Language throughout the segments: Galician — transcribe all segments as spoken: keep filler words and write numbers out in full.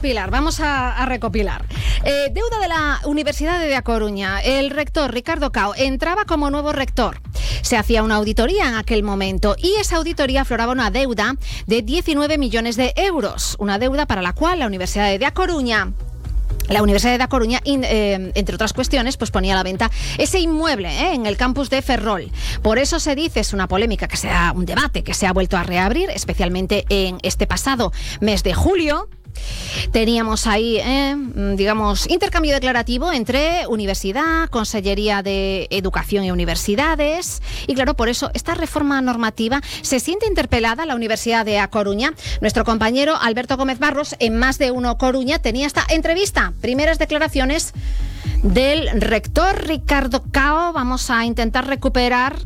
Pilar, vamos a, a recopilar. Eh, deuda de la Universidad de A Coruña. El rector Ricardo Cao entraba como nuevo rector. Se hacía una auditoría en aquel momento y esa auditoría afloraba una deuda de diecinueve millones de euros. Una deuda para la cual la Universidad de A Coruña... La Universidad de A Coruña, in, eh, entre otras cuestiones, pues ponía a la venta ese inmueble eh, en el campus de Ferrol. Por eso se dice, es una polémica, que sea un debate que se ha vuelto a reabrir, especialmente en este pasado mes de julio. Teníamos ahí, eh, digamos, intercambio declarativo entre Universidad, Consellería de Educación y Universidades. Y claro, por eso esta reforma normativa se siente interpelada la Universidad de A Coruña. Nuestro compañero Alberto Gómez Barros, en Más de Uno Coruña, tenía esta entrevista. Primeras declaraciones del rector Ricardo Cao. Vamos a intentar recuperar.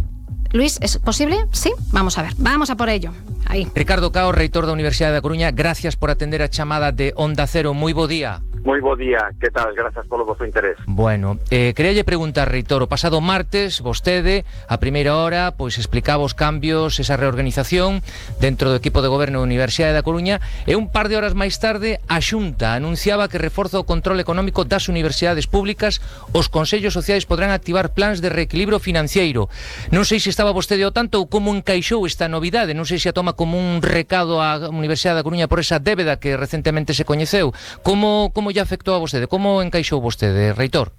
Luis, ¿es posible? Sí, vamos a ver, vamos a por ello. Aí. Ricardo Cao, reitor da Universidade da Coruña, gracias por atender a chamada de Onda Cero. Moi bo día. Moi bo día, que tal? Grazas polo vosso interés. Bueno, eh, queríalle preguntar, reitor, o pasado martes, vostede, a primeira hora, pois explicaba os cambios, esa reorganización dentro do equipo de goberno da Universidade da Coruña, e un par de horas máis tarde, a Xunta anunciaba que reforza o control económico das universidades públicas, os consellos sociais podrán activar plans de reequilibrio financiero. Non sei se estaba vostede ao tanto ou como encaixou esta novidade, non sei se a toma como un recado á Universidade da Coruña por esa débeda que recentemente se coñeceu. Como, como lle afectou a vostede? Como encaixou vostede, reitor?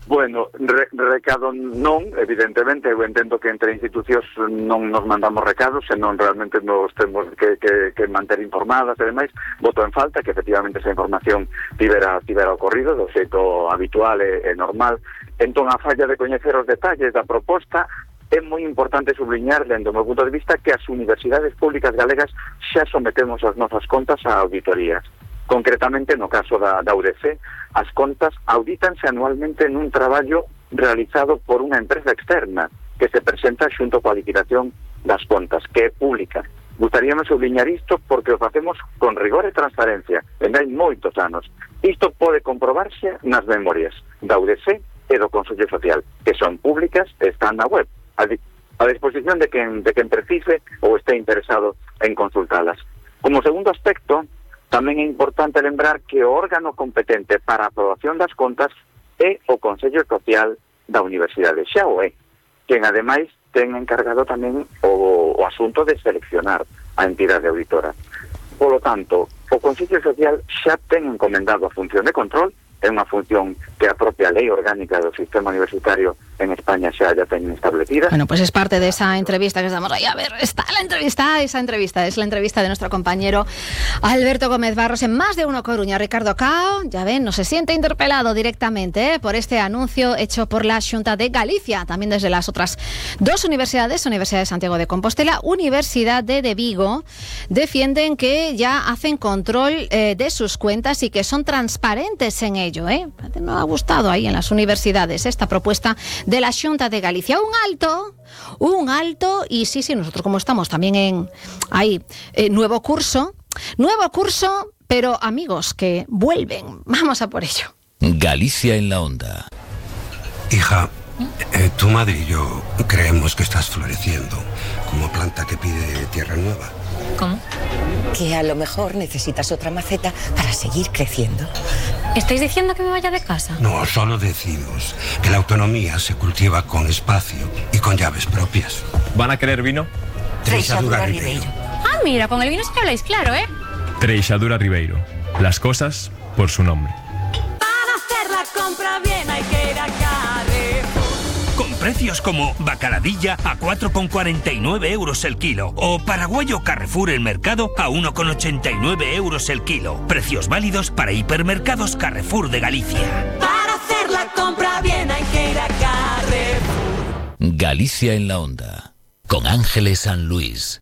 Bueno, re, recado non, evidentemente, eu entendo que entre institucións non nos mandamos recados, senón realmente nos temos que, que, que manter informadas e demais. Voto en falta que efectivamente esa información tivera, tivera ocorrido do xeito habitual e, e normal. Entón, a falla de coñecer os detalles da proposta, é moi importante subliñar, dentro do meu punto de vista, que as universidades públicas galegas xa sometemos as nosas contas a auditorías. Concretamente, no caso da, da U D C, as contas audítanse anualmente nun traballo realizado por unha empresa externa que se presenta xunto coa liquidación das contas, que é pública. Gustaríame subliñar isto porque o facemos con rigor e transparencia, en hai moitos anos. Isto pode comprobarse nas memorias da U D C e do Consello Social, que son públicas e están na web, a disposición de quen, de quen precise ou este interesado en consultalas. Como segundo aspecto, tamén é importante lembrar que o órgano competente para a aprobación das contas é o Consello Social da Universidade, xa o é, quen ademais ten encargado tamén o, o asunto de seleccionar a entidade auditora. Polo tanto, o Consello Social xa ten encomendado a función de control, é unha función que a propia lei orgánica do sistema universitario en España xa ya ten establecida. Bueno, pues es parte de esa entrevista que estamos ahí. A ver, está la entrevista, esa entrevista, es la entrevista de nuestro compañero Alberto Gómez Barros en Más de Uno Coruña. Ricardo Cao, ya ven, no se siente interpelado directamente ¿eh? por este anuncio hecho por la Xunta de Galicia, también desde las otras dos universidades, Universidad de Santiago de Compostela, Universidad de, de Vigo, defienden que ya hacen control eh, de sus cuentas y que son transparentes en ello. ¿eh? No ha gustado ahí en las universidades esta propuesta de la Xunta de Galicia. Un alto, un alto, y sí, sí, nosotros como estamos también en ahí, eh, nuevo curso, nuevo curso, pero amigos que vuelven. Vamos a por ello. Galicia en la onda. Hija, eh, tu madre y yo creemos que estás floreciendo como planta que pide tierra nueva. ¿Cómo? Que a lo mejor necesitas otra maceta para seguir creciendo. ¿Estáis diciendo que me vaya de casa? No, solo decimos que la autonomía se cultiva con espacio y con llaves propias. ¿Van a querer vino? Treixadura Ribeiro. Ah, mira, con el vino sí que habláis claro, ¿eh? Treixadura Ribeiro. Las cosas por su nombre. Para hacer la compra bien hay que ir a Carrefour. Con precios como bacaladilla a cuatro con cuarenta y nueve euros el kilo o paraguayo Carrefour el mercado a uno con ochenta y nueve euros el kilo. Precios válidos para hipermercados Carrefour de Galicia. Para hacer la compra bien hay que ir a Carrefour. Galicia en la onda, con Ángeles San Luis.